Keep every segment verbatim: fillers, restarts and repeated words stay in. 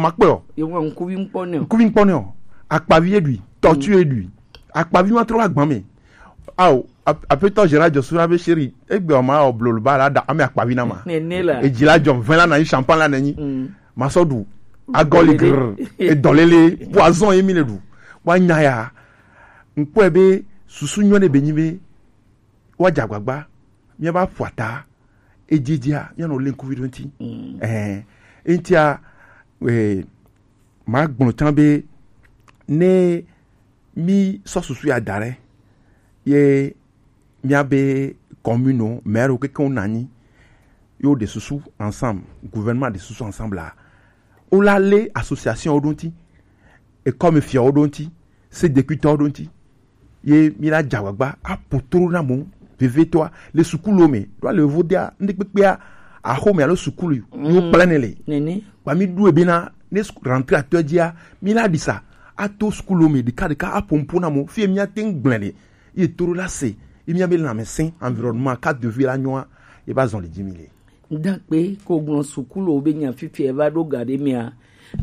Ma kpe o. Ye wa nkuvi nkpɔ ne o. Nkuvi nkpɔ ne o. Akpavi e ɖui, tɔtu e ɖui. Akpavi ma trɔ wa gbame. Ao, ap- apetɔ Gérard Joshua be chéri, egbe o ma o blolo ba la da ame akpavi na ma. Nene la. Edzi la jɔ vɛn la na yi champagne la nenyi. Mm. Ma sɔ ɖu. Agɔli grr. Edɔlele. Poison ye mi le ɖu. Wa nya ya. Nkpɔe be susu nyɔ ne be nyi be wa dza agbagba. Mia ba ƒo ata. Edzedzia, mia nɔ le nkuvi ɖo ŋti. Mm. Eh, ŋtia, eh, ma gblɔ tsã be ne mi sɔ susu ya da ɖe ye mia be commune o, maire o keke wo nanyi yo de susu ensemble, gouvernement de susu ensemble la, o la le association o ɖo ŋti, école me fia o ɖo ŋti, se de kuitɔ o ɖo ŋti. Ye mi la dza agbagba apo tro na mo vevetɔa le sukulu me ɖo ale vodea ŋɖe kpekpea axome alo sukulu yo kple ne le. Nene. Ba mi ɖu ebe na ne rentrée atɔ dzia mi la ɖisa ato sukulu me ɖeka ɖeka apo ŋpo na mo fie mi ate ŋu gblẽ ɖe ye to ɖo la se ye mi be lãmesẽ environnement ka de vie la nyoa ye ba zɔn le dzi mi le. Ŋdakpe ko gblɔ sukuluwo be nya fifia eva ɖo ga ɖe mea,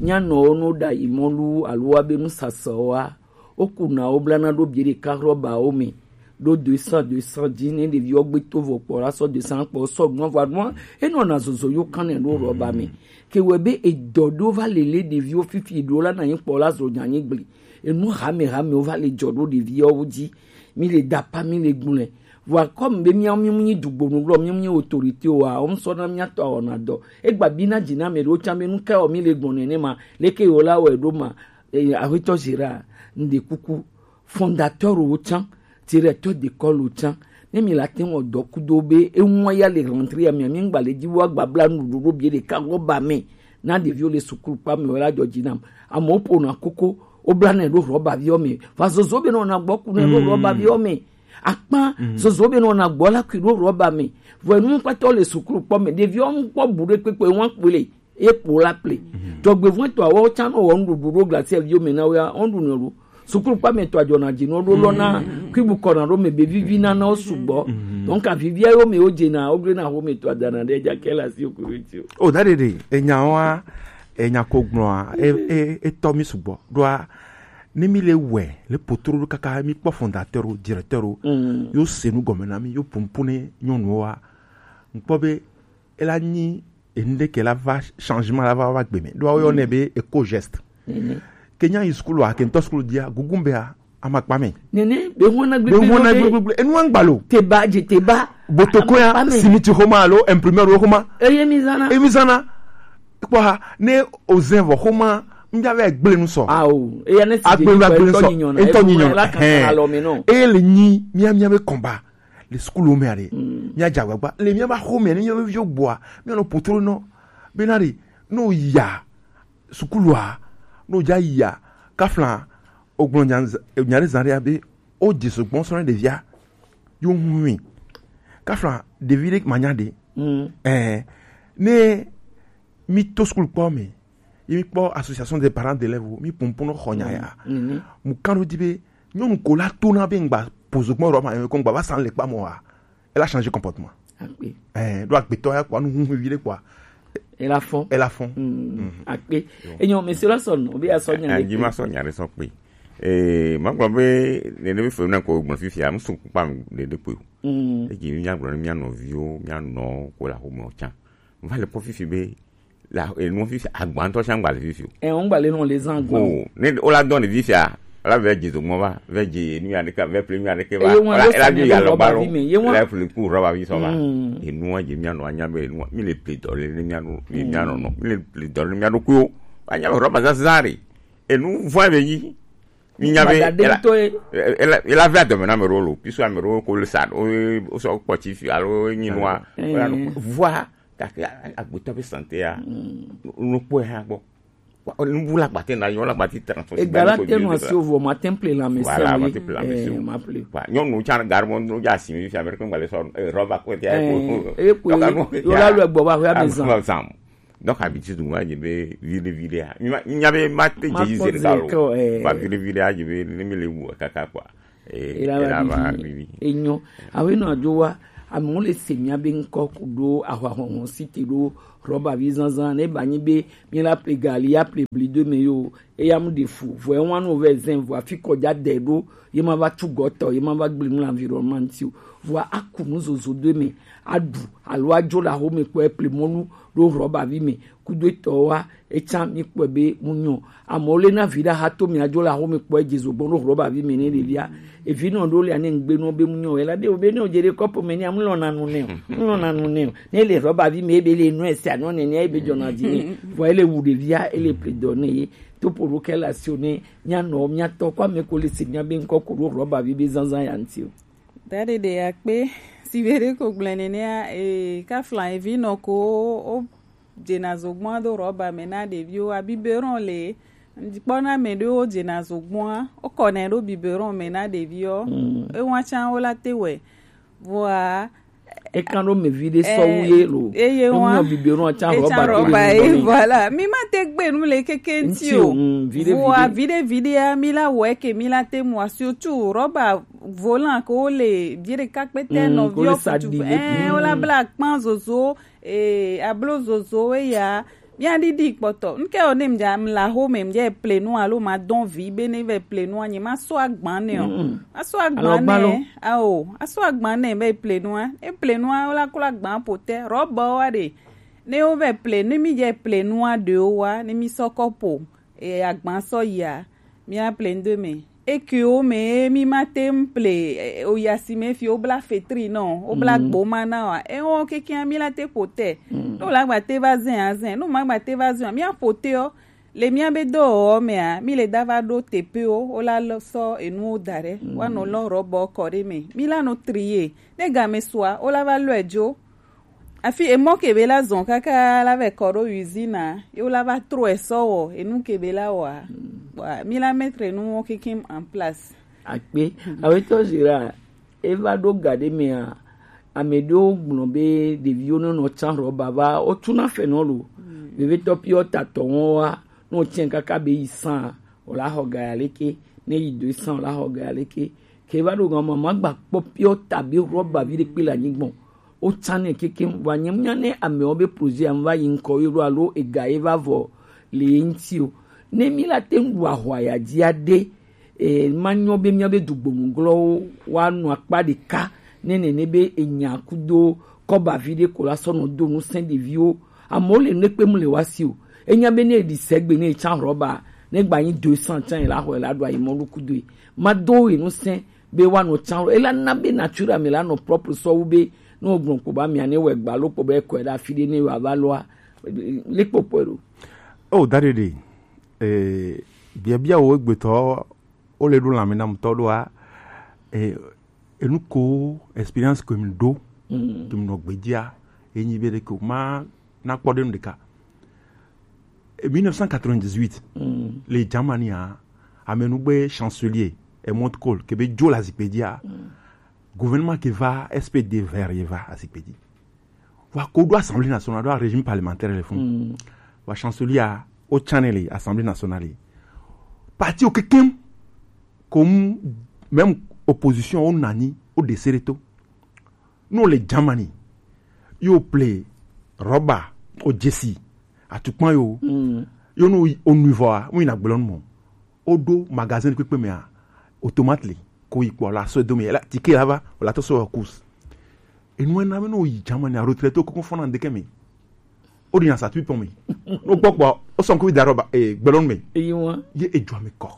mía nɔwo no ɖa yi mɔlu alo wa be nusasawo wa, woku na wo blana ɖo bie ɖeka rɔbawo me ɖo deux cents deux cents dzi ne ɖeviwo gbe to vɔ kpɔ la sɔ deux cents kpɔ sɔ gbɔn vɔ aɖuma enɔ na zozo yo kan ne ɖo rɔba me. Ke wɔ be edɔ ɖo va lele ɖeviwo fifi ɖo la na nyi kpɔ la zo nya nyi gble. Enu hame hame wo va le dzɔ ɖo ɖeviwo dzi. Mi le dapa mi le gblɔe. Vɔa comme be miawo mi mu nyi dugbonu lɔ mi mu nyi autorité o wa wo ŋsɔ na mia tɔ awɔna dɔ. Egba bi na dzi na me ɖewo tsã be nu ka wɔ mi le gbɔn nenema leke yewo la wɔe ɖo ma. Eh, aƒetɔ Gérard, ŋɖe kuku, fondateur wo tsã, directeur d'école wo tsã, ne mi la te wɔ dɔ kudo be eŋua ya le rentrée ya mia mi ŋgba le dzi wa gbabla nuɖuɖu ɖo bie ɖeka lɔ ba me na ɖeviwo le sukulu kpa me wɔ la dzɔ dzi nam. Amewo ƒona koko, wo bla nɛ ɖo rɔba viwo me. Va zozo be nɔ na gbɔ ku nɛ ɖo rɔba viwo me. Akpa zozo be nɔ na gbɔ la kui ɖo rɔba me. Vɔ enu kpatɔ le sukulu kpɔ me. Ɖeviwo ŋkpɔ bu ɖe kpekpe ŋua kpele. Ye kpo la ple. Dzɔgbevɔn tɔ awɔ tsa nɔ wɔ nuɖuɖu ɖo glasi viwo me na wo ya, wo ɖu nɔ ɖo. Sukulu kpa me tɔ adzɔ na dzi nɔ ɖo lɔ na kui bu kɔ na ɖo me be vivi na na wo sugbɔ. Donc avivia yo me wo dze na wo gble na wo me tɔ adana ɖe dza ke la si o kuru ti o. O da ɖeɖe enya wa enya ko gblɔa e e etɔ mi sugbɔ ɖoa ne mi le wɛ le potro ɖo kaka mi kpɔ fondateur o directeur o yo se nu gɔme na mi yo pumpune nyɔnuwo wa ŋkpɔ be ela nyi enu ɖe ke la va changement la va va gbe me ɖo awo yɔ nɛ be eco geste ke nya yi sukulu a ke ŋtɔ sukulu dia gugun be a amakpa me nene be ŋua na be gbegbe ŋua na lo de gbegbe enu wa ŋgba lo te ba dze te ba botoko ya amakpa me simiti xoma alo imprimeur wo xoma eye mi zana emi zana kpɔ ha ne ozɛn vɔ xoma ŋdza vɛ gble nu sɔ awo eya ne si agbe dze nu agble nu sɔ ŋtɔ nyinyɔ na ŋtɔ nyinyɔ na la kan hɛn alɔ me nɔ eye le nyi mia mia be kɔnba le sukulu me aɖe mia dze agbagba le mia ba xɔ me ne mia be viwo gbɔa mia nɔ potro nɔ bena ɖe ne o ya sukulua ne o dza ya kafla o gblɔ nya nya ɖe zã ɖe abe o dze sugbɔ sɔ ne ɖevia yo ŋu mi kafla ɖevi ɖe ma nya ɖe ɛɛ ne mi to sukulu kpɔ me ye mi kpɔ association des parents d'élèves mi pɔnpɔn xɔ nya ya mu kan ɖo di be nyɔnu ko la to na be ŋgba pozo gbɔn rɔ ma yɛ ko ŋgba va san le kpa mɔ wa ela change comportement akpe ɛɛ ɖo agbetɔ ya kpɔ anu huhu vi ɖe kpɔ ela fɔn ela fɔn akpe enyo mesi la sɔ nɔ bi asɔ nya ɖe anyi ma sɔ nya ɖe sɔ kpe ee ma gblɔ be nene bi fo na ko gblɔ fifia musu kpa mi ɖe ɖe kpe o eji mi nya gblɔ ne mia nɔviwo mia nɔ ko la ko mɔ tsa va le kpɔ fifi be la enu fifi agba ŋutɔ sia ŋgba le fifi o. Ɛ ŋgba le nɔ le zan gbɔn. O ne o la dɔn le fifi a la vɛ dze dogbɔn va vɛ dze enu ya ɖeka vɛ ple enu ya ɖeke va eye wọn la yóò la sani do ya lɔ ba rɔba ɖo vi me ye wọn la ple ku rɔba vi sɔ va enu wa dze mia nɔ anya be enu wa mi le ple dɔ le ne mia nɔ mi mia nɔ nɔ mi le ple dɔ le ne mia ɖo kuyo anya be rɔba zazã ɖe enu vɔ be yi mi nya be Gbada ɖe ela ŋutɔ ye. Ela ela vɛ adɔme na ame ɖewo lo puisque ame ɖewo ko le sa o o sɔ kpɔ tsi fi alo nyi nua Ɛɛ. Vɔa gake agbetɔ be santé ya nukpɔe hã gbɔ nubu la gbate na yɔ la gbati transfo Ega la te nɔ asi o vɔ ma te ple la me voilà se ma te ple la me se o ma ple wa nyɔnu tsa garmɔ no dza si mi fi américain gbale sɔ rɔba ko te ko eh yo la lu egbo ba ho ya me zan zan donc habitude mo ma dze be viɖe viɖe ya mi ma mi nya be ma te dze yi zeri ka lo ma viɖe viɖe ya dze be ne mi le wu kaka quoi eh ela va vivi enyo awe no adzo wa Amewo le se mía be ŋkɔ ku ɖo ahwahɔhɔ si te ɖo rɔba vi zanzan ne ba nyi be mi la ple gali ya ple bli do me yo. Eya mu ɖe fu vɔ ewa nu vɛ zɛn vɔ afi kɔdza dɛ ɖo ye ma va tsu gɔtɔ ye ma va gble nu le environnement ŋuti o. Vɔ aku nu zozo do me aɖu alo adzo le aho me kpɔ eple mɔnu ɖo rɔba vi me kudo etɔ wa. Etsa mi kpɔe be mu nyɔ. Amewo le na vi ɖe ahato mi adzo le aho me kpɔ edze zo gbɔn ɖo rɔba vi me ne ɖevia. Evi nɔ ɖo le ane ŋgbe nɔ be mu nyɔ ela ɖe o be ne o dze ɖe kɔpo me ne amu lɔ na nu ne o mu lɔ na nu ne o ne le rɔba vi me ebe le nu esi anɔ ne ne ebe dzɔ na dzi ne vɔ ele wu ɖevia ele ple dɔ ne ye topo ɖo kɛ le asi o ne mia nɔ mia tɔ kɔ ame ko le se mia be ŋkɔ ko ɖo rɔba vi be zanzan ya ŋuti o. Da ɖeɖe akpe si be ɖe ko gblẽ nenea e kafla evi nɔ ko o dzena zogbɔa do rɔba me na ɖeviwo a biberon le ŋdikpɔ na me ɖewo dzena zogbɔa o kɔnɛ ɖo biberon me na ɖeviwo ewa tsa wo la te wɛ vɔa Ekan ɖo me vi ɖe sɔwu ye lo. Eye wa. Enyɔ biberon atsa rɔba to le rɔba ye. Voilà. Mi ma te gbe nu le keke ŋti o. Vɔa vi ɖe vi ɖe ya mi la wɔ eke mi la te mu asi o tu rɔba volant ko le vi ɖe kakpete nɔ vi o kutu. Ɛɛ o la bla kpan zozo ee ablo zozo eya. Mía ɖiɖi kpɔtɔ. Ŋke o ne mdza mla ho me mdza eple nu alo ma dɔn vi be ne ve ple nu anyi ma so agban ne o. Ma so agban ne. Ao, a so agban ne ve ple nu a. Eple nu a o la klo agban po te. Rɔba wa de. Ne o ve ple ne mi dza eple nu a de o wa ne mi sɔ kɔpo. E agban sɔ ya. Mía ple ndo me. Eke wo me mi ma te ŋu ple oya si me fi wo bla fetri nɔ wo bla gboma na wa ewo kekia mi la te ƒo te. Ne wo la gba te va zɛ azɛ ne wo ma gba te va zɛ wa mía ƒo te ɔ le mía be dɔwɔwɔ mea mi le da va ɖo teƒewo wo la sɔ enuwo da ɖe woanɔ lɔ rɔbɔ kɔ ɖe me mi la nɔ triye ne game sua wo la va lɔe dzo. Afi emɔ ke be la zɔn kaka la vɛ kɔ ɖo usine a, ye wo la va trɔe sɔ wɔ enu ke be la wɔa. Bɔa mi la mettre nu wo kekem en place. Akpe awetɔ zira eva ɖo ga ɖe mea ame ɖewo gblɔ be ɖeviwo ne nɔ tsan rɔba va wotsuna fenɔlo vevetɔ piɔ tatɔ wɔn wa ne wotsɛ kaka be yi san o la xɔ ga ya leke ne yi do san o la xɔ ga ya leke ke va ɖo gan mama gba kpɔ piɔ tabi rɔba vi ɖe kpe le anyigbɔn. Wotsanɛ kekeŋ vɔ anyemnya ne amewo be projet ya va yi ŋkɔ yi ɖo alo ega ye va vɔ le ye ŋuti o. Ne mi la te ŋu ɖu ahwa ya dzi aɖe e ma nyɔ be mía be dugbɔnuglɔwo woanɔ akpa ɖeka ne nene be enya kudo kɔba vi ɖe ko la sɔ nɔ do ŋusẽ ɖeviwo. Amewo le nu kpem le wa si o. Enya be ne eɖi sɛgbe ne etsa rɔba ne gba nyi deux cents tsa la xɔ la ɖo ayi mɔlu kudo e ma do e ŋusẽ be woanɔ tsan ela na be nature me la nɔ propre sɔwu be ne wogblɔ kpo ba mia ne wɔ egba lo kpo be ekɔe ɖe afi ɖe ne wòava loa le kpokpɔe ɖo. O da ɖeɖe eh, biabia wo egbetɔ wo le ɖo lãme na mutɔ ɖoa eh, enu ko experience ko mi ɖo ke mi nɔ gbedzia enyi be ɖe ko ma na kpɔ ɖe nu ɖeka. Et mille neuf cent quatre-vingt-dix-huit, mm. Les Germany, hein, amène nous chancelier et Mont Cole, que be Joe la zikpedia. Mm. Gouvernement qui va S P D vert, il va à zikpedi. Wa kodo assemblée nationale, do régime parlementaire le fond. Mm. Wa chancelier au channel assemblée nationale. Parti au kekem comme même opposition au nani au dessereto. No le Germany yo ple rɔba o jesi atukpa yo mm. Yo no o nuivɔa mu yina gblɔ nu mɔ o ɖo magasin kpekpe mea automate li ko yi kpɔ la so do mi la tike la va o la to so kus enu ena me no yi Germany a retraite ko fɔna ndeke mi o di na sa tui pɔn mi no gbɔ kpɔ o sɔn ko da rɔba e gblɔ nu mi eyi wa ye e jɔ mi kɔ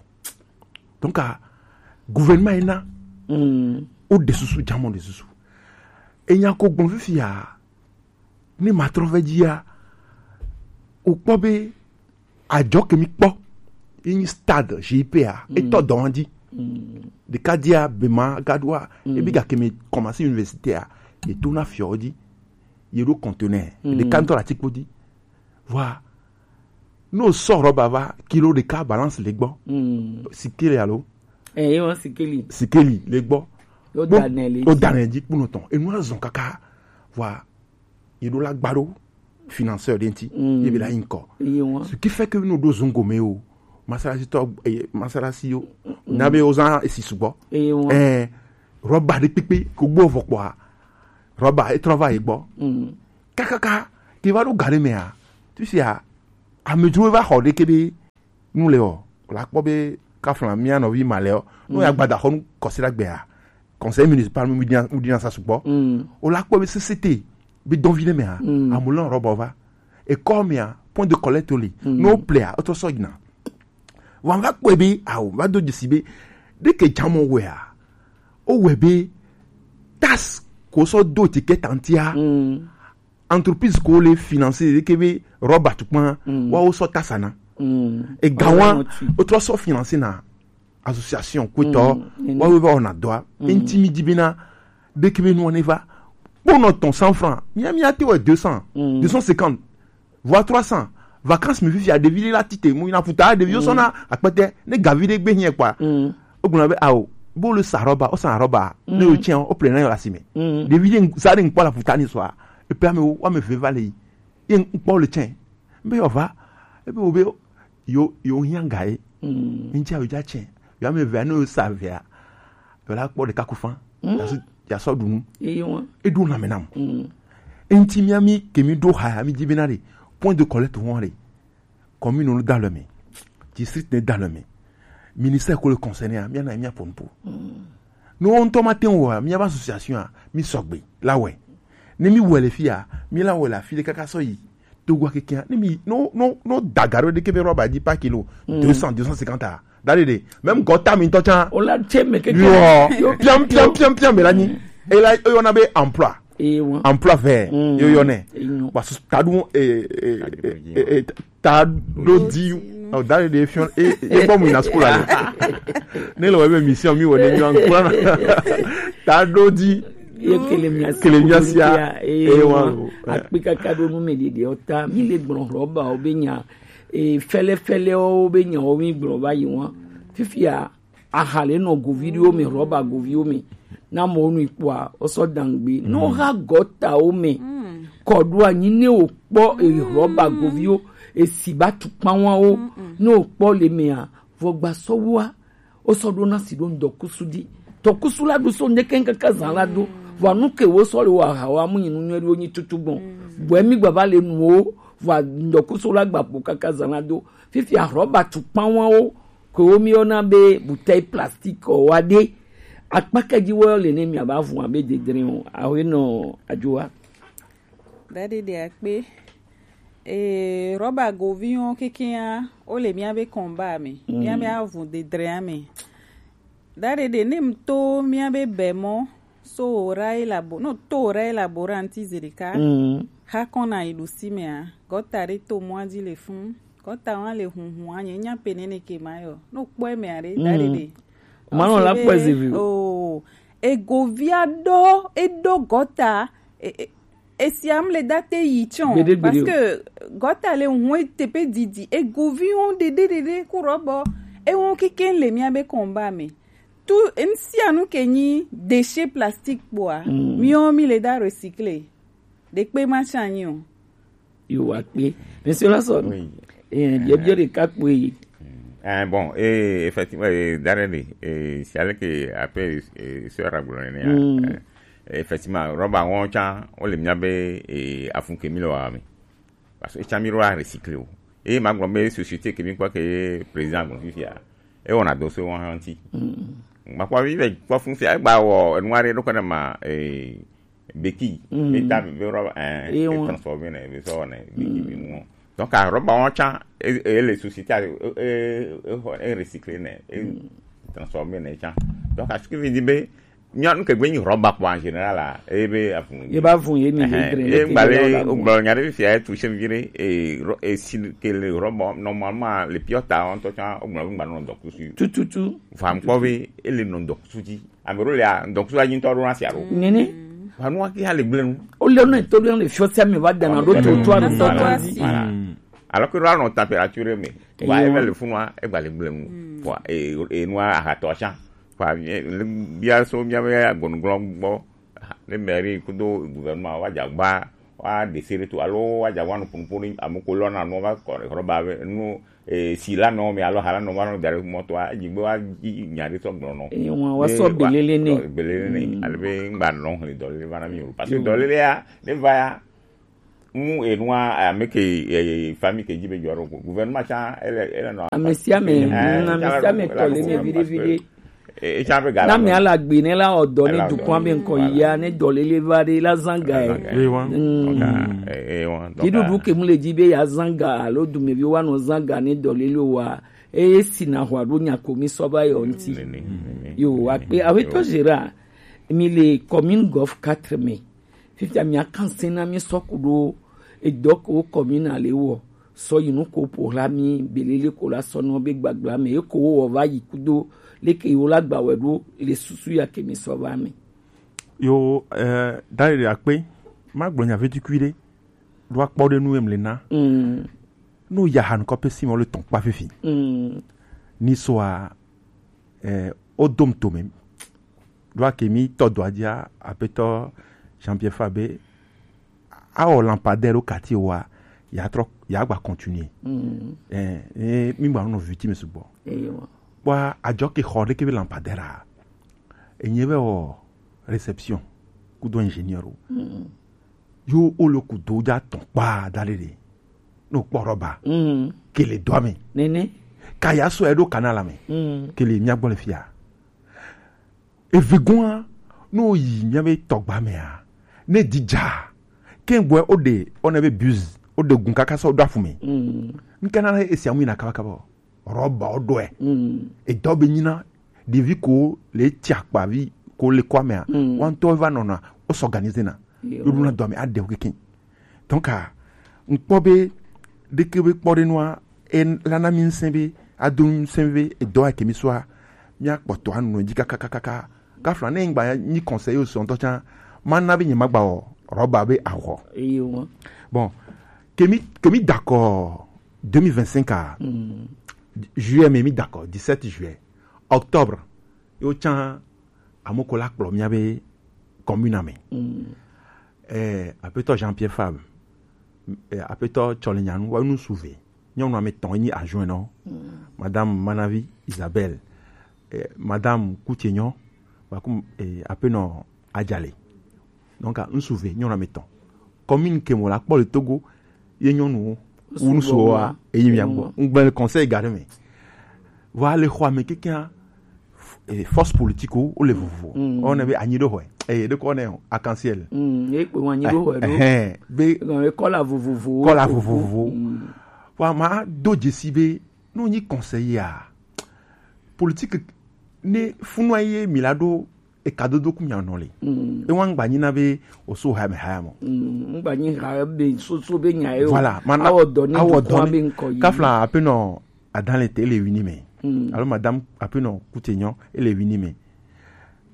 donc a gouvernement ena mm. O de susu jamɔ de susu enya ko gbɔn fifia ne ma trɔ vɛ dzia o kpɔ be adzɔ kemi kpɔ yi nyi stade G I P a etɔ dɔn dzi ɖeka dzia bema gadoa ebi ga kemi kɔmasi université a eto na fiɔ dzi ye ɖo conteneur ɖeka ŋutɔ la tsi kpo dzi vɔa ne o sɔ rɔba va kilo ɖeka balance le gbɔ sikeli alo sikeli le gbɔ o danɛ dzi kpɔnɔ tɔn enu azɔn kaka vɔa yi ɖo la gba ɖo financeur ɖe ŋti ye be la yi ŋkɔ ce qui fait que no ɖo zungo me o masalasi tɔ masalasi yo na be o zan esi sugbɔ ɛɛ rɔba ɖe kpekpe ko gbɔ vɔ kpɔa Rɔba e trɔ va yi gbɔ. Kakaka te va ɖo ga ɖe mea, tu sia amedzro va xɔ ɖe kebe nu le ɔ, la kpɔ be kafla mia nɔvi ma le ɔ, no ya gbada xɔ nu kɔsi ɖa gbea, conseil municipal mu dina mu dina sa sugbɔ. O la kpɔ be sesete be dɔn vi ɖe mea, amu lɔn rɔba va. Ekɔ mea, point de collecte li. No plea, o trɔ sɔ yina. Wa va kpɔe be awo va do dzesi be ɖeke jamɔ wɛa, o wɛ be taxe ko sɔ do ticket antia, entreprise ko le financer ɖeke be rɔba tukpa, wa o sɔ taxe na. Ega wa o trɔ sɔ financer na association kutɔ, wa o va wɔna dɔa. Enti mi di bena ɖeke be nua ne va kpɔnɔ tɔn cent francs, mia mia te wɛ deux cents, deux cent cinquante, voire trois cents. Vacances mi fifia ɖevi ɖe la tite mu yina futa ɖeviwo sɔna akpɛtɛ ne gavi ɖe gbe hiɛ kpa. O gbɔna be awo, bo le sa rɔba, o sa rɔba, ne o tiɲɛ o ple na yɔ la si me. Ɖevi ɖe sa ɖe nkpɔ la futa ni sɔa, epe ame wo ame ve va le yi, ye nkpɔ le tiɲɛ. Be yɔ va, ebe wo be yo yo hiã ga ye. Ŋtsi awo dza tiɲɛ, yo ame ve ne o sa vea, yo la kpɔ ɖeka ku fan. Ya sɔ ɖu nu. Eɖo na me nam. Enti mia mi ke mi ɖo ha mi di bena ɖe point de collecte wɔn ɖe, commune no da le me, district ne da le me, ministère ko le concerné a mia na mia pɔnpo. No ŋutɔ ma te wɔa mia ba association a mi sɔgbe la wɛ. Ne mi wɛ le fia mi la wɛ le afi ɖe kaka sɔ yi Togo keke ne mi no no no dagaro ɖe ke be rɔba di pa kilo deux cents, deux cent cinquante a. Dari de même gɔta mi tɔ can. O la tse me keke. Yo piam piam piam piam me la nyi. E la e yɔna be emploi. Emploi vert yo yɔnɛ. Parce que tadu e e e e tado di o dari de fiɔn e e bɔ mu yina school ale. Ne le wɔ ebe mission mi wɔ ne nyɔ nkura na tado di. Ye kele mia si kele mia sia. E wa akpi kaka ɖo nu me ɖeɖe o ta mi le gblɔ rɔba o be nya e fɛlɛfɛlɛ o be nya o mi gblɔ va yi wa. Fifia aha le nɔ govi ɖewo me, rɔba goviwo me. Na mɔ nu kpɔa, o sɔ dangbe. No ha gɔtawo me. Kɔ ɖo anyi ne o kpɔ e rɔba goviwo, e si ba tukpawawo. Ne o kpɔ le mea, vɔ gba sɔ wa. O sɔ ɖo na si ɖo ŋdɔkusu di. Tɔkusu la ɖo so ne kɛn kaka zan la do. Vɔ nu ke wo sɔ le wo aha wa mu nyi nu nyuie ɖo nyi tutu gbɔn. Bɔ mi gba va le nu wo, vɔ ŋdɔkusu la gba po kaka zan la do. Fifia rɔba tukpawawo ke wo mi yɔna be bouteille plastique wa ɖe. Akpa ke dzi wo le ne mia ba vun abe dedre o. Awe nɔ adzoa. Daɖi ɖe akpe. Ee, rɔba goviwo kekea, wo le mia be kɔnba me, mia be avun dedrea me. Daɖi ɖe ne m to mia be bɛmɔ, so ora elabo, no to ora elaboranti zerika. Ha kɔna yi ɖusi mea, gɔta ɖe to mɔa dzi le fun. Gɔta wa le hunhun anye nya pe nene ke ma yɔ. No kpɔe mea ɖe, daɖi ɖe. Manɔ la kpɔe zivi. Oh, egovia ɖo, eɖo gɔta, e, e, Esiam le date yi tsɔn. Gbede, gbede. Parce que gɔta le ŋue tepe didi. Egoviwo ɖeɖe ɖeɖe ku rɔbɔ. Ewo keke le mia be kɔnba me. Tu ŋsia nu ke nyi déchet plastique kpoa. Miɔ mi le da recycler. Ɖekpe ma tsa nyi o. Yo wa kpe. Monsieur Lasson. Oui. Eh, biɛ biɛ ɖeka kpoe. Eh, bon, eh, effectivement, eh, dare de, eh, c'est avec, eh, après, eh, sœur Agbolone, eh, effectivement, rɔba wɔn tsa, wo le mia be, eh, afun ke mi le wa mi. Parce que tsa mi rɔ recycler o. E ma gblɔ be société ke mi kpɔ ke président gblɔ fifia. E wɔna do so wɔn ŋuti. Ma kpɔ mi be kpɔ fun fia, egba wɔ enu aɖe ɖo kɔ ne ma, eh, béquille. Mi ta mi be rɔba, eh, e transformer ne, be sɔ ne, béquille mi nu. Donc, a rɔba wɔn tsa, e, e le société, e, e, e, e recycler ne, e transformer ne tsa. Donc, a ce qui veut dire be, nyɔnu ke gbe nyi rɔba kpɔ en général la, e be avun. Ye ba vun ye mi. Ɛhɛn, le dre, e le gba le, le o gba nya ɖe fia, e touché mi ɖe, e, rɔ-, e si ke le rɔba, normalement, le piota, on to tsa, o gba, o gba nɔ dɔkusu. Tututu. Fa mi kpɔ be, e le nɔ dɔkusu dzi. Ame ɖewo lia, ŋdɔkusu la dzi ŋutɔ ɖo na sia ɖo. Nene. Vanu ake ya le gblẽ nu. Wo le ne to ɖe le fiɔ sia me va dana ɖo to to anu tɔ tɔ dzi. Voilà. Alors que ɖo anɔ température me. Wa ebe le funua, egba le gblẽ nu. Wa e e nua ahatɔ sia. Wa bia so mia be agbɔnuglɔ gbɔ. Ne mairie kudo gouvernement wa dza gba wa desere to alo wa dza wa nu punupunu amu ko lɔ na nu va kɔ rɔba be nu eh, si la nɔ mi alo ha la nɔ va nɔ da ɖe mɔto a, dzi gbe wa dzi nya ɖe sɔ gblɔ nɔ. Eye wa, wa sɔ belele ne. Belele ne. Mm. Ale be ŋgba nɔ hle dɔlele va na mi o. Parce que dɔlele ya, ne va ya, mu enua, ame ke, eh, famille ke dzi be jɔ ɖo ko. Gouvernement tsa, ele, ele nɔ. Ame sia ame, eh, mm, ame sia ame tɔ le me viɖe viɖe. Etsa be ga na mi ala gbe ne la ɔdɔ ne dukɔa be ŋkɔ ya ne dɔlele va ɖe la zanga e. Ewa. Mm. Ewa. Dziɖuɖu ke mu le dzi be ya zanga alo dumeviwo wa nɔ zanga ne dɔlele wa, eye si na hwa ɖo nya ko mi sɔ va yɔ ŋti. Yo, akpe, aƒetɔ Gérard, mi le commune Golf quatre me. Fifia mi akan sena mi sɔ ku ɖo edɔ ko commune ale wɔ sɔ yi nu ko ƒo hla mi belele ko la sɔ nɔ be gbagba me eko wo wɔ va yi kudo leke yi wo la gba wɛ ɖo le susu ya ke mi sɔ va me. Yo, eh, da ɖe akpe, ma gblɔ nya vetukui ɖe, ɖo akpɔ ɖe nu em le na. Mm. No ya ha nukɔ pe si me le tɔn kpa fifi. Mm. Ni sɔ a, eh, o dom to me. Ɖo ake mi tɔ dɔ adzia, aƒetɔ Jean-Pierre Fabre, awɔ lampadaire ɖo quartier wa, ya trɔ, ya gba continuer. Mm. Eh, eh, mi gba nɔ viti me sugbɔ. Eyo. Wa ajɔ ke xɔ ɖe ke be lampadaire a. Enye be wɔ réception kudo ingénieur o. Mm. Yo o le kudo ja tɔn kpa da ɖe ɖe. No kpɔ rɔba. Mm. Ke le dɔ me. Nene. Ka ya sɔ eɖo canal me. Mm. Ke le mia gbɔ le fia. Evegoa, no yi mia be tɔgba mea, ne didza, ke gbɔ o de, o ne be bus, o de gun kaka sɔ do afu me. Mm. Nke na esi amu ina kaba kaba. Rɔba o do e. Mm. Edɔ be nyina, ɖevi ko le tsi akpavi ko le kɔ mea. Mm. Wa ŋtɔ va nɔna, o s'organiser na. Yo. Yo ɖuna dɔ me aɖe o keke. Donc, a, ŋkpɔ be, ɖeke be kpɔ ɖe nua, e lana mi ŋsɛn be, ado ŋsɛn be, edɔ ya ke mi sɔa, mi akpɔtɔ anu dzi kakakakaka. Kafla ne ŋgba nyi conseil o sɔntɔ tsa, ma na be nye ma gba wɔ, rɔba be awɔ. Eyo. Bon, ke mi, ke mi d'accord deux mille vingt-cinq a, mm, juillet, mais mi d'accord, dix-sept juillet, octobre, yo tsa, amoko la kplɔ mia be commune me. Mm. Eh, aƒetɔ Jean-Pierre Fabre, eh, aƒetɔ Tsɔlenyanu, wa nu suve. Nyɔnu ame etɔ̃ nyi adjoint nɔ. Mm. Madame Manavi Isabelle, eh, Madame Kutsenyɔ, wa kum, eh, apenɔ Adjale. Donc, ah, nu suve, nyɔnu ame etɔ̃. Commune ke mo la kpɔ le Togo, ye nyɔnuwo, wu nu suwo wa, eyi mia gbɔ. Ŋgbe le conseil ga ɖe me. Wa le xɔ ame kekea, f-, eh, force politique wo le vovo. Mm. O ne be anyi ɖo xɔe. Eh, ɖe ko ne o, arc-en-ciel. Mm, e kpe wa anyi ɖo xɔe ɖo. Eh, eh, be kɔla vovovo. Kɔla vovovo. Mm. Wa ma do dzesi be, no nyi conseiller a. Politique ne funua ye mi la ɖo eka dodo ku mia nɔ le. Mm. E wa ŋgba nyi na be o so ha me ha mo. Mm, ŋgba nyi ha be so so be nya yo. Voilà, mana awɔ dɔ ni awɔ dɔ ni be ŋkɔ yi. Kafla apenɔ Adale te ele wini me. Mm. Alo madame apenɔ Kutsenyɔ ele wini me.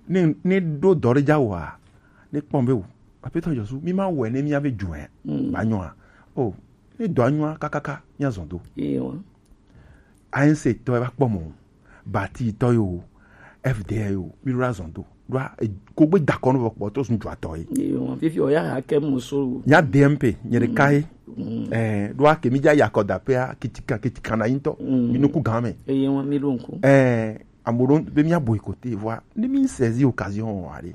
Ne, ne ɖo dɔ ɖe dza wa, ne kpɔn be o. Apenɔ Jesu, mi ma wɛ ne mi ave dzu ɛ. Mm. Ba nyɔa. O, ne dɔ anyɔa kakaka, mi azɔn do. Ewa. A N C tɔ e va kpɔ mɔ. Bati tɔ yo, F D yo, mi ɖo azɔn do. Ɖo a, e, ko gbe dakɔ no vɔ kpɔ to sun dua tɔ ye. Ewa, fifi o ya ha ke mo so. Nya D M P, nye ɖeka ye. Mm. Eh, ɖo a ke mi dza yakɔ da pe a, kitika, kitika na yin tɔ. Mm. Mi nuku gan me. Ewa, mi ɖo nuku. Eh, amoɖo be mi a boycotter, vɔa, ne mi saisir occasion, allez.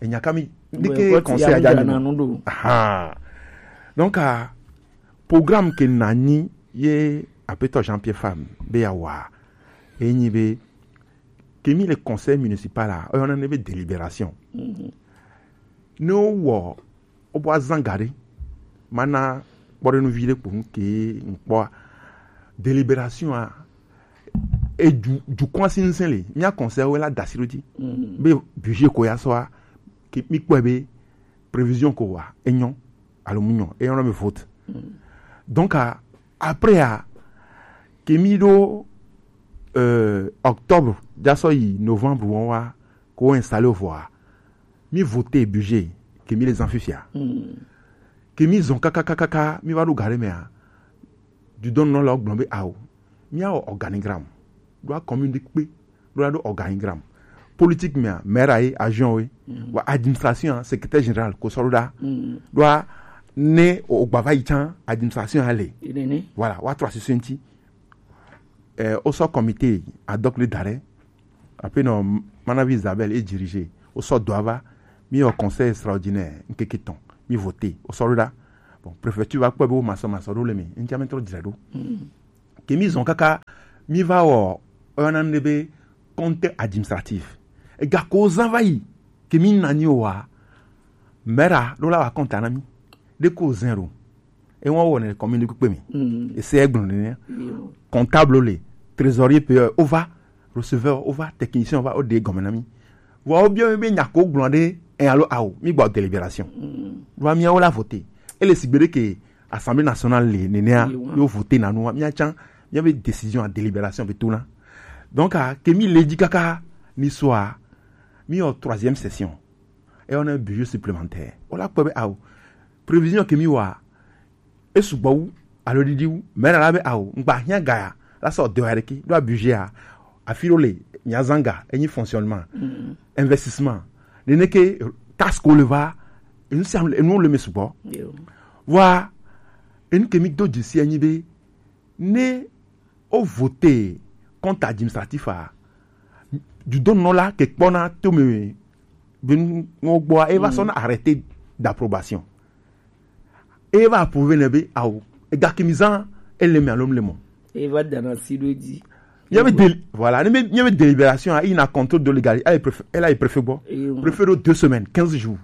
Enya ka mi, ndeke conseil a ja na nu ɖo. Aha. Donc, ah, programme ke na nyi ye aƒetɔ Jean-Pierre Fabre be ya wa. Enyi be, ke mi le conseil municipal a, o yɔna ne be délibération. Mhm. Ne o wɔ, o bɔ azan ga ɖe, mana kpɔ ɖe nu vi ɖe kpo nu ke ŋkpɔ a. Délibération a, e du, dukɔa si ŋsɛn le, mia conseil wo la dasi ɖo dzi. Mm. Be budget ko ya sɔa, ke mi kpɔe be prévision ko wa, e nyɔ, alo mu nyɔ, e nyɔ na me vote. Mm. Donc, a, après a, ke mi ɖo, euh, octobre, ja sɔ yi novembre wɔn wa, ko installer o vɔa, mi voter budget, ke mi le zan fifia. Mm. Ke mi zɔn kakakakaka, mi va ɖo ga ɖe mea, dudɔnnɔlawo gblɔ be ao, míawɔ organigramme. Ɖo a commune ɖe kpe, ɖo la ɖo organigramme. Politique mea, maire ye, adjoint ye, mm, wa administration, secrétaire général, ko sɔ ɖo ɖa. Mm. Ɖo a ne o gba va yi tsan, administration a le. Voilà, wa trɔ asese ŋti. Eh, o sɔ comité ad hoc le da ɖe. Ape nɔ Manavi Isabelle e dirige. O sɔ dɔ ava. Mi wɔ conseil extraordinaire nkeke tɔn. Mi voté. O sɔ ɖo ɖa. Bon, préfecture va kpɔe be wo masɔ masɔ ɖo le mi. Ŋtsia mi trɔ dzra ɖo. Ke mi zɔn kaka mi va wɔ, oyɔna nu ɖe be compte administratif. Ega ko zan va yi. Ke mi na ni o wa. Mera ɖo la wa compte na mi. Ɖe ko zan ɖo. E wọn wɔ ne commune kpekpe mi. Ese egblɔ nene. Comptable le, trésorier payeur, o va, receveur o va, technicien o va, o de gɔme na mi. Vɔ o biɔ mi be nya ko gblɔ ɖe, e alo awo, mi gba délibération. Vɔ miawo la voté. Ele sigbe ɖe ke Assemblée nationale le nenea, yo voté na nu, mia tsan, mia be décision à délibération be to na. Donc, a, ke mi le dzi kaka ni soa, mi wɔ troisième session. E wɔ ne budget supplémentaire. O la kpɔ be awo, prévision ke mi wa, e sugbɔ wu, alo ɖiɖi wu, mais la be awo, ŋgba hiã gaya, la sɔ de wa ɖeke, ɖo budget a, afi ɖo le, mia zanga, enyi fonctionnement, investissement, nene ke taxe ko le va, enu sia enu le me sugbɔ. Wa, enu ke mi do dzesi enyi be, ne o voté compte administratif a, dudɔnɔ la ke kpɔna to me be nu gbɔa, e va sɔna arrêté d'approbation. E va approuvé ne be awo, ega ke mi zan, ele me alo le mɔ. E va dana si ɖo dzi. Mia be déli-, voilà, ne be, mia be délibération a, il a contrôle de légalité, elle est préfet, elle est préfet gbɔ. Préfet ɖo deux semaines, quinze jours.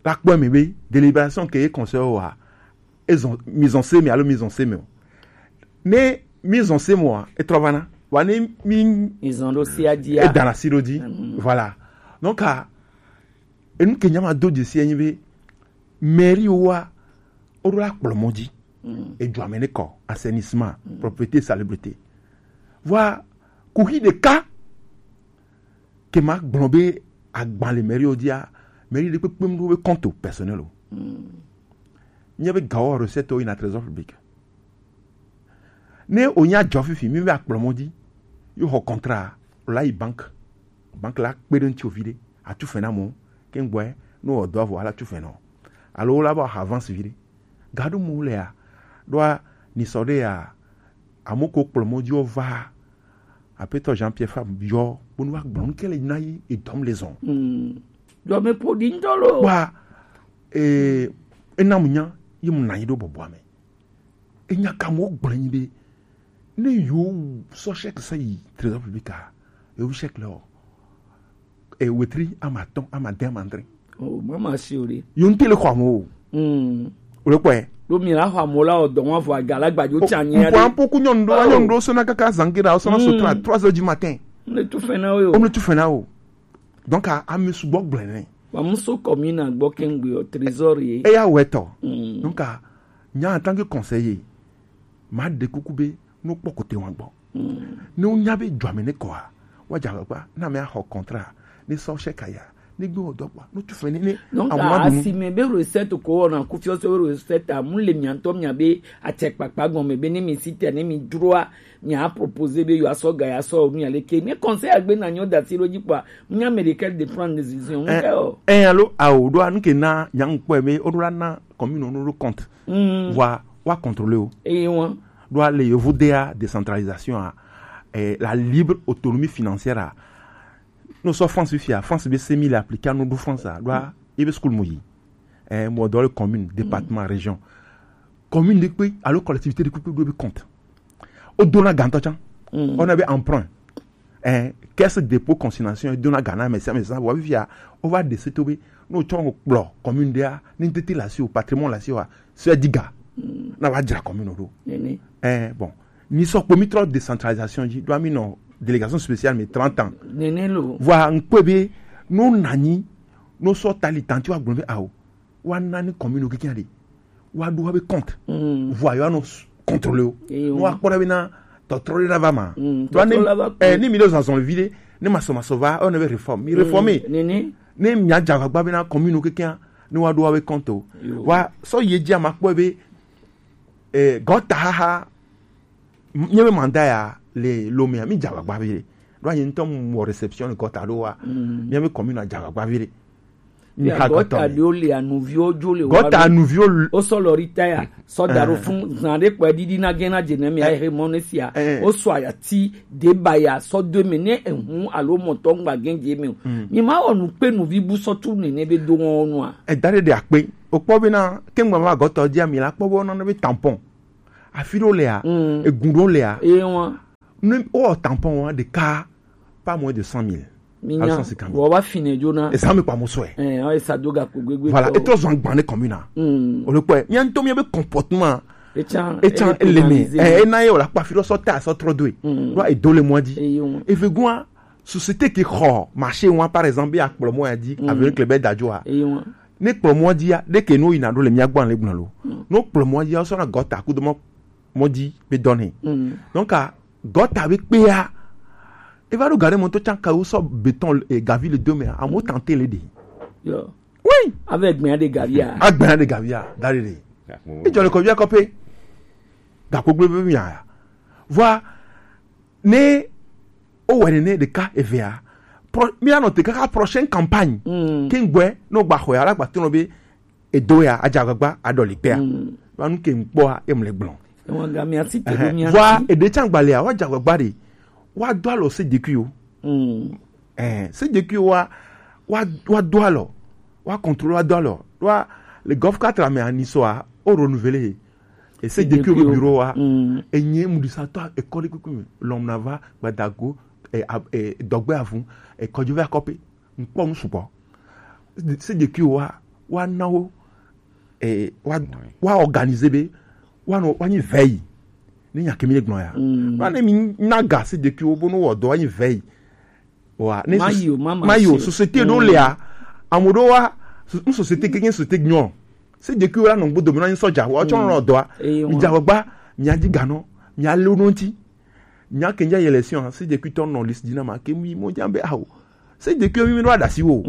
La kpɔ mi be délibération ke ye conseil wa, ezɔn, mi zɔn se mi alo mi zɔn se mi o. Ne mi zɔn se mi wa, e trɔ va na. Wa ne mi, mi zɔn ɖo si a dzi a, e dana si ɖo dzi. Voilà. Donc, a, enu ke nya ma do dzesi enyi be, mairie wa, o ɖo la kplɔ mɔ dzi. Edzo ame ne kɔ, assainissement, propreté, salubrité. Vɔa, kuxi ɖeka ke ma gblɔ be agban le mairie wo dzia, mairie ɖe kpekpe mu ɖo be compte personnel o. Nye be gawo recette wo yina trésor public. Ne o nya dzɔ fifi, mi be akplɔ mɔ dzi, yo xɔ contrat, o la yi banque. Banque la kpe ɖe ŋuti o vi ɖe, atu fɛn na mɔ, ke ŋgbɔɛ, no wɔ dɔ avɔ, ala tu fɛn nɔ. Alo wo la ba xɔ avance vi ɖe. Gaɖo mo le ya, ɖoa ni sɔ ɖe ya, amo ko kplɔ mɔ dzi o va, apetɔ Jean Pierre Fabre yɔ, bonu wa gblɔ nu ke le na yi, edɔm le zɔn. Dɔme po di ŋdɔ lo. Wa, eh, ena mu nya, yi mu na yi ɖo bɔbɔa me. Enya ka mo gblɔ nyi be, ne yo sɔ chèque sa yi trésor public a, yo chèque le o. E wetri ama tɔn, ama de, ama andre. O, mama si o de. Yo nte le xɔ amo o. Mm. O le kpɔe. Ɖo mi la xɔ amo la o dɔn wa vɔ aga la gbajo tsa nyi ade. Mpɔ ampo ku nyɔnu ɖo, nyɔnu ɖo sɔna kaka zange ɖa, o sɔna so trois, trois heures du matin. Ne tu fɛn na o. O ne tu fɛn na o. Donc, a, ame sugbɔ gblɔe nɛ. Wa muso kɔmina gbɔ kɛngbe o trésor ye. Eya wɛtɔ. Donc, a, nya en tant que conseiller, ma de kuku be, no kpɔ kote wa gbɔ. Ne wonya be dua me ne kɔa, wa dza gbagba, na me axɔ contrat, ne sɔ chèque ya, ne gbe wɔ dɔ kpɔ, no tu fɛn ne, ne. Donc, amuna dunu. Asime be recette ko wɔna kufiɔ so be recette amu le miantɔ mia be atsɛkpakpa gɔme be ne mi si te ne mi droa, mia proposer be yo asɔ ga ya sɔ nu ya leke. Ne conseil agbe na nyo da si lo dzi kpɔa, mia me de quel de prendre décision. Eh, ŋkɛ o. Eh, alo, awo, ɖoa, nuke na, nya ŋkpɔe be, o ɖo la na, commune no ɖo compte. Mm. Wa, wa contrôler o. Eye wa. Ɖoa le yovo dea décentralisation a, eh, la libre autonomie financière a. No sɔ France fia, France be semi le appliquer no ɖo France a. Ɖoa, ebe school mo yi. Eh, mo dɔ le commune, département, région. Commune de kpe, alo collectivité de kpe, kpe ɖo be compte. O dona gantɔ tsan. Mm. On a be emprunt. Eh, caisse de dépôt consignation, e dona gana, mais ça, mais ça, wa fia, o va de se to be, no tsɔ kplɔ commune de a, ni tete la si o, patrimoine la si o, a, so e diga. Mm. Na va dra commune ɖo. Nene. Eh, bon. Ni sɔ kpo mi trɔ décentralisation dzi, ɖo mi nɔ délégation spéciale, mais trente ans. Nene lo. Voilà, ŋkpɔe be, no nanyi, no sɔ tali tanti wa gblɔ be, awo. Wa na ni commune o kikia de. Wa ɖo wa be compte. Mm. Vɔ yo anɔ s-, contrôler o. Eyo. No wa kpɔ ɖa be na tɔtrɔ de la va ma. Mm, tɔtrɔ la va. Eh, ni mi do zanzan vi de, ne ma sɔ ma sɔ va, on avait réforme. Mi réformer. Nene. Ne mi a dza gbagba be na commune o kikia, ne wa ɖo wa be compte o. Yo. Wa sɔ ye dzi a ma kpɔ be, eh, gɔta haha, m-, nye be mandat ya le Lomé a, mi dza gbagba vi de. Ɖo anyi ŋutɔ mu wɔ réception le gɔta ɖo wa. Mm. Mi be commune a dza gbagba vi de. Mi ha gɔta ɖewo le anuviwo dzo le gɔta anuviwo. Wo sɔ lɔ ɖi ta ya sɔ da ɖo fun zan ɖe kpɔ ɖiɖi na gɛn na dze ne mi ahe mɔ ne sia. Wo sɔ ayati de ba ya sɔ do me ne ehun alo mɔtɔ ŋgba gɛn dze me o. Mi ma wɔ nu kpe nuvi bu sɔ tu nene be do wɔn nua. Eda ɖe ɖe akpe. O kpɔ be na kengba ma gɔta dzi ami la kpɔ be wɔn na be tampon. Afi ɖewo lea, egun ɖewo lea. Eye wɔn. Ne wowɔ tampon wa ɖeka pas moins de cent mille. Minya. Alo cent cinquante mille. Wɔ wa fine dzona. Ezan mi kpa mo sɔe. Ɛɛ, ɔ esa do gakpo gbegbe. Voilà, etɔ zɔn gban ne commune na. O le kpɔe, mia ŋutɔ mia be comportement. Etsan ele me. Ɛ ena ye wòle akpa fi ɖɔ sɔ ta sɔ trɔ do e. Ɖo edo le mɔ dzi. Eye wɔn. Eve gua, société ke xɔ marché wa par exemple be akplɔ mɔ ya dzi avec le bɛ dadzo a. Eye wɔn. Ne kplɔ mɔ dzi ya, ɖe ke no yina ɖo le mia gbɔ le gblɔ lo. No kplɔ mɔ dzi ya, sɔ na gɔta ku do mɔ mɔ dzi be dɔ ne. Donc a gɔta be kpea. Eva ɖo gare mɔ to tsan ka wo sɔ béton et gavi le do me. Amewo tante le ɖe. Yo. Oui. Avec gbɛn de gavia. Agbɛn de gavia da ɖe ɖe. Ejɔ le kɔvia kɔpe. Gakpo gble be mia. Vɔa ne o wɛ nene ɖeka evea. Pro mia nɔ te kaka prochaine campagne. Ke ŋgbɛ no gba xɔ ya la gba to nɔ be edo ya adze agbagba aɖɔli kpea. Va nu ke ŋkpɔa ye mle gblɔ. Ewa ga mi asi te do mi asi. Vɔa eɖe tsan gbalea wa dze agbagba ɖe wa do alɔ se dekuiwo. Ɛɛ se dekuiwo wa wa wa do alɔ wa contrôle wa do alɔ wa le golf quatre ame ani sɔa o renouveler. Et se dekuiwo be bureau wa enye mudisa tɔ ekɔli kuku mi lɔm na va gbadago. Dɔgbe avu ekɔdzo va kɔpe. Ŋkpɔ nu sugbɔ. Se dekuiwo wa wa na wo. Wa wa organiser be wa nɔ wa nyi veille. Ne nya kemi gblɔ ya wa ne mi na ga se dekuiwo bo no wɔ dɔ wa nyi veille. Wa ne mayi o société ɖo lea. Ame ɖo wa n société ke nye société nyɔ. Se dekuiwo la nɔ gbodo mi na nyi sɔdza wa tsɔ nɔ dɔa. Mi dza gbagba mi adi ganɔ mi ale wo ŋuti. Nya ke nya élection se dekuitɔ nɔ lisi dzi na ma ke mi mo dza be awo. Se dekuitɔ mi mi ɖo aɖasi wo.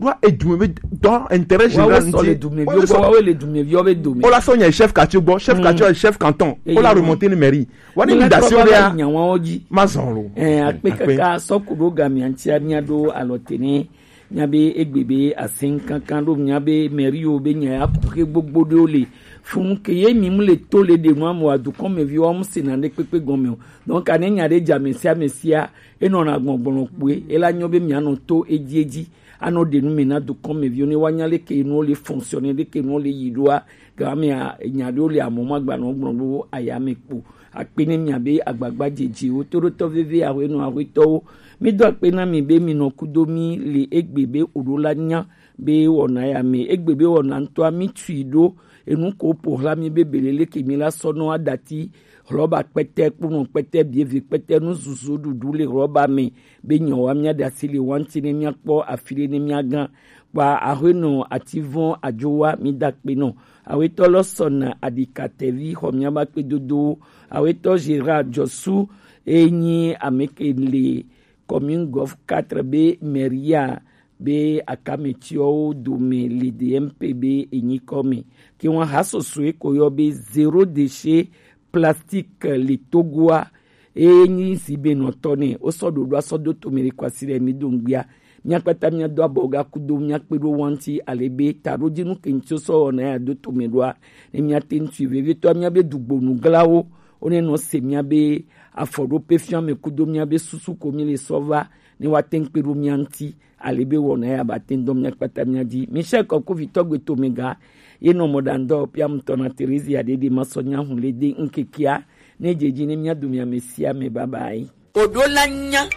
Ɖo edume be dɔ intérêt général ŋti. Wa wo le dumeviwo be dome. Wola sɔ nya chef quartier gbɔ, chef quartier chef canton. Wola remonter ni mairie. Wa ni mi dasi wo ɖea. Ma zɔn lo. Akpe kaka sɔ ku ɖo ga mia ŋtia mia ɖo alɔ tene. Mia be egbe be asin kankan ɖo mia be mairie wo be nya ya ku xe gbogbo ɖewo le. Funu ke ye mi mu le to le ɖe nua mo adukɔn me viwo mu se na ɖe kpekpe gɔme o. Donc ane nya ɖe dza mesia mesia enɔ na gbɔgblɔ kpoe ela nyɔ be mia nɔ to edzi edzi anɔ ɖe nu me na dukɔn me viwo ne wa nya le ke nuwo le fonctionner le ke nuwo le yi ɖoa. Gama mea nya ɖewo le amɔ ma gba nɔ gblɔ ɖo aya me kpo. Akpe ne mia be agbagba dzedzewo toɖotɔ veve ahwenɔ ahwetɔwo. Mi do akpe na mi be mi nɔ kudo mi le egbe be oɖo la nya be wɔna ya me egbe be wɔna ŋutɔa mi tui ɖo enu ko ƒo xlã mi be belele ke mi la sɔ nɔ aɖati hlɔba kpɛtɛ kponɔ kpɛtɛ bieve kpɛtɛ nuzuzu ɖuɖu le hlɔba me be nyɔwa mia ɖe asi le wa ŋuti ne mia kpɔ afi ɖe ne mia gã. Kpa ahwenɔ ativɔn adzowa mi da akpe nɔ. Awetɔ lɔ sɔna aɖikatɛvi xɔ miaba kpedodowo. Awetɔ Gérard Jɔsu e nyi ame ke le commune Golf quatre be mairie be akametiɔwo dome le D M P be enyi kɔme. Ke wan ha soso e ko yɔ be zéro déchet plastique le Togoa. Eye nyi si be nɔtɔ ne wo sɔ ɖoɖo asɔ do tome le kwasi ɖe mi do ŋgbia. Mia kpata mia do abɔ ga kudo mia kpe ɖo wanti ale be ta ɖo dzi nu ke ŋuti sɔ wɔna ya do tome ɖoa. Ne mia te ŋuti vevitɔ mia be dugbonu glawo wo ne nɔ se mia be afɔ ɖo pe fia me kudo mia be susu ko mi le sɔ va ne wa te ŋkpe ɖo mia ŋuti. Ale be wɔna ya ba te ŋdɔ mia kpata mia dzi. Michel Kɔkuvitɔ gbe tome ga ye nɔ mɔ ɖa ŋdɔ pia mutɔ na Theresia ɖeɖe ma sɔ nya hu le de ŋkekea. Ne dze dzi ne mia do mia me sia me baba yi. Oɖo la nya